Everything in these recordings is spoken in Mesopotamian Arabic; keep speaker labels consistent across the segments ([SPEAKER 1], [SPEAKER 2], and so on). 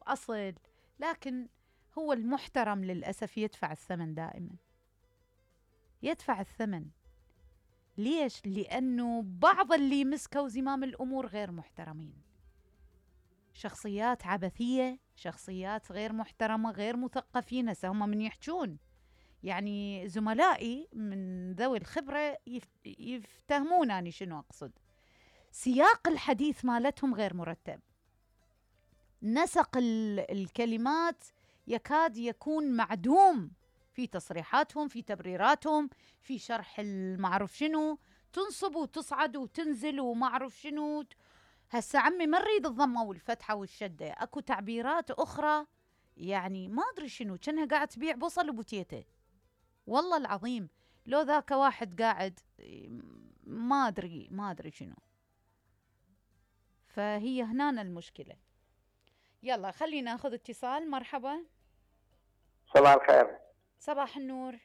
[SPEAKER 1] وأصل، لكن هو المحترم للأسف يدفع الثمن دائما، يدفع الثمن. ليش؟ لأنه بعض اللي مسكوا زمام الأمور غير محترمين، شخصيات عبثية، شخصيات غير محترمة، غير مثقفين. هسه هم من يحجون، يعني زملائي من ذوي الخبرة يفتهمونني شنو أقصد. سياق الحديث مالتهم غير مرتب، نسق الكلمات يكاد يكون معدوم في تصريحاتهم، في تبريراتهم، في شرح المعروف شنو، تنصب وتصعد وتنزل ومعروف شنو. هسا عمي ما نريد الضمة والفتحة والشدة، اكو تعبيرات اخرى يعني ما ادري شنو، كأنها قاعد تبيع بصل وبوتيته. والله العظيم لو ذاك واحد قاعد ما ادري شنو. فهي هنا المشكلة. يلا خلينا ناخذ اتصال. مرحبا.
[SPEAKER 2] صباح الخير.
[SPEAKER 1] صباح النور.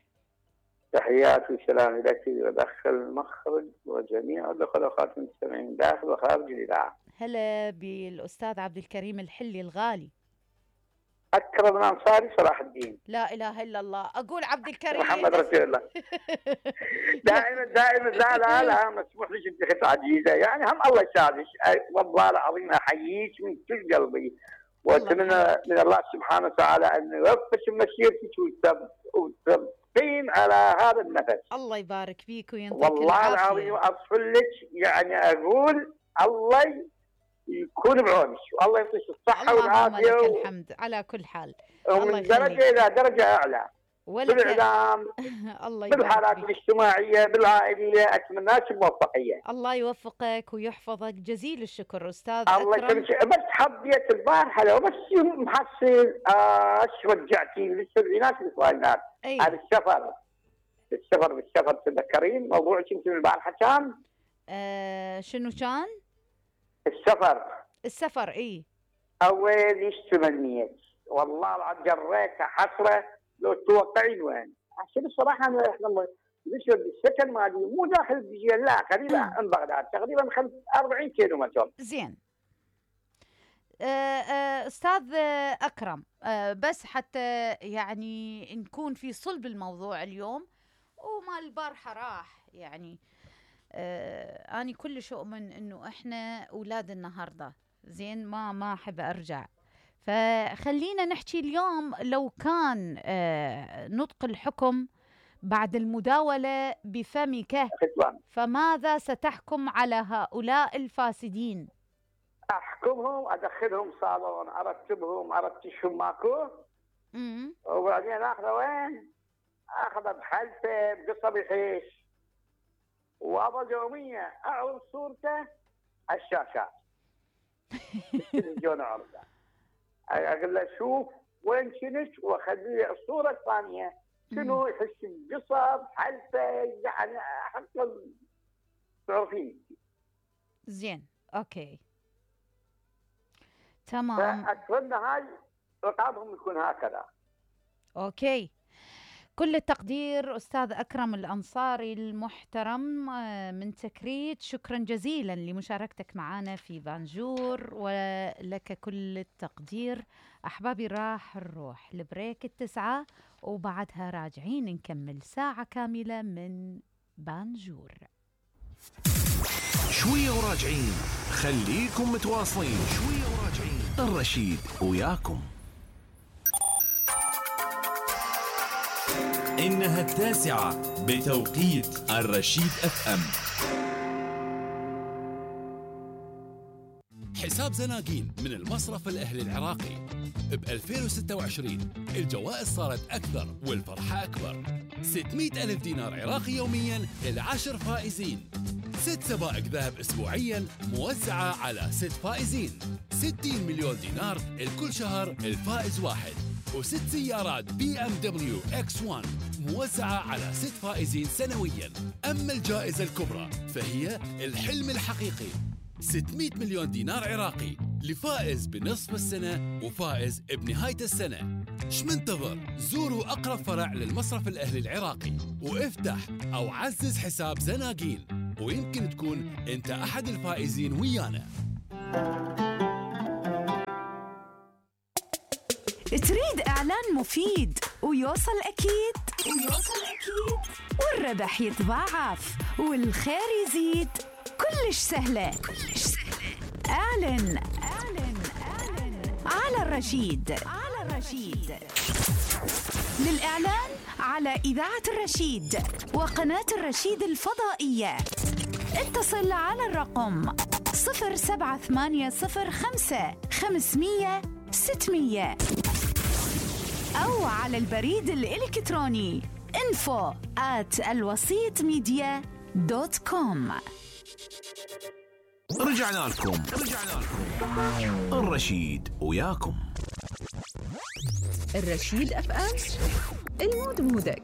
[SPEAKER 2] تحياتي وسلامي لك وداخل المخرج وجميع الاخوات المستمعين داخل وخارج الاذاعه.
[SPEAKER 1] هلا بالاستاذ عبد الكريم الحلي الغالي.
[SPEAKER 2] اكرم الانصاري صلاح الدين.
[SPEAKER 1] لا اله الا الله. اقول عبد الكريم
[SPEAKER 2] محمد رسول الله. دائما لا مسموح لي انت عزيزه، يعني هم الله يساعدك. والله العظيم احييك من كل قلبي، واتمنى من الله سبحانه وتعالى ان يوفق مسيرتك وتبقين على هذا النفس.
[SPEAKER 1] الله يبارك فيك وينطيك
[SPEAKER 2] والله العظيم اصفل لك، يعني اقول الله يكون بعونك، والله يعطيك الصحه والعافيه.
[SPEAKER 1] اللهم لك الحمد على كل حال.
[SPEAKER 2] ومن درجه الى درجه اعلى بالاعلام
[SPEAKER 1] الله
[SPEAKER 2] بالحالات الاجتماعيه بالعائليه، اتمنى لك الموفقيه.
[SPEAKER 1] الله يوفقك ويحفظك. جزيل الشكر استاذ
[SPEAKER 2] الله
[SPEAKER 1] أكرم.
[SPEAKER 2] بس حبيت البارحه لو بس محصل رجعتي للسبعينات والثمانينات. هذا السفر تتذكرين موضوعك انت البارحه كان؟
[SPEAKER 1] شنو كان؟ السفر اي
[SPEAKER 2] اول تمنيت والله العظيم جريتها حسره لو توقعين وين. عشان الصراحه احنا بالسكن مالي مو داخل الدجيل، لا قريبه من بغداد تقريبا 40 كيلو متر.
[SPEAKER 1] زين. استاذ اكرم، بس حتى يعني نكون في صلب الموضوع اليوم وما البارحه راح، يعني اني كلش اؤمن انه احنا اولاد النهارده. زين، ما احب ارجع. فخلينا نحكي اليوم، لو كان نطق الحكم بعد المداولة بفمك، فماذا ستحكم على هؤلاء الفاسدين؟
[SPEAKER 2] احكمهم، ادخلهم صالون، ارتشهم ماكو، وبعدين اخذه وين؟ اخذه بحلفه بقصه بحيش، واظل يوميا اعرض صورته على الشاشات. التلفزيون اعرضه، اقول له شوف وين كنت، واخليه الصوره الثانيه شنو يحس بقصب حلفه، يعني حتى تعرفين.
[SPEAKER 1] زين اوكي تمام.
[SPEAKER 2] فاتمنى هاي رقابهم يكون هكذا.
[SPEAKER 1] اوكي، كل التقدير أستاذ أكرم الأنصاري المحترم من تكريت. شكرا جزيلا لمشاركتك معنا في بانجور، ولك كل التقدير. أحبابي راح نروح لبريك 9 وبعدها راجعين نكمل ساعة كاملة من بانجور.
[SPEAKER 3] شوية وراجعين، خليكم متواصلين. شوية وراجعين، الرشيد وياكم.
[SPEAKER 4] إنها 9 بتوقيت الرشيد FM. حساب زناقين من المصرف الأهلي العراقي ب 2026 الجوائز صارت أكثر والفرحة أكبر. 600,000 دينار عراقي يومياً ل10 فائزين، 6 سبائك ذهب أسبوعياً موزعة على 6 فائزين، 60 مليون دينار لكل شهر الفائز واحد، و6 سيارات BMW X1 موزعة على 6 فائزين سنوياً. أما الجائزة الكبرى فهي الحلم الحقيقي، 600 مليون دينار عراقي لفائز بنصف السنة وفائز بنهاية السنة. شمنتظر؟ زوروا أقرب فرع للمصرف الأهلي العراقي وافتح أو عزز حساب زناقين، ويمكن تكون أنت أحد الفائزين ويانا.
[SPEAKER 5] تريد إعلان مفيد ويوصل أكيد والربح يتضاعف والخير يزيد. كلش سهلة. اعلن على الرشيد. للإعلان على إذاعة الرشيد وقناة الرشيد الفضائية اتصل على الرقم 07805 أو على البريد الإلكتروني info@alwasitmedia.com.
[SPEAKER 3] رجعنا لكم الرشيد وياكم.
[SPEAKER 6] الرشيد FM، المود مودك.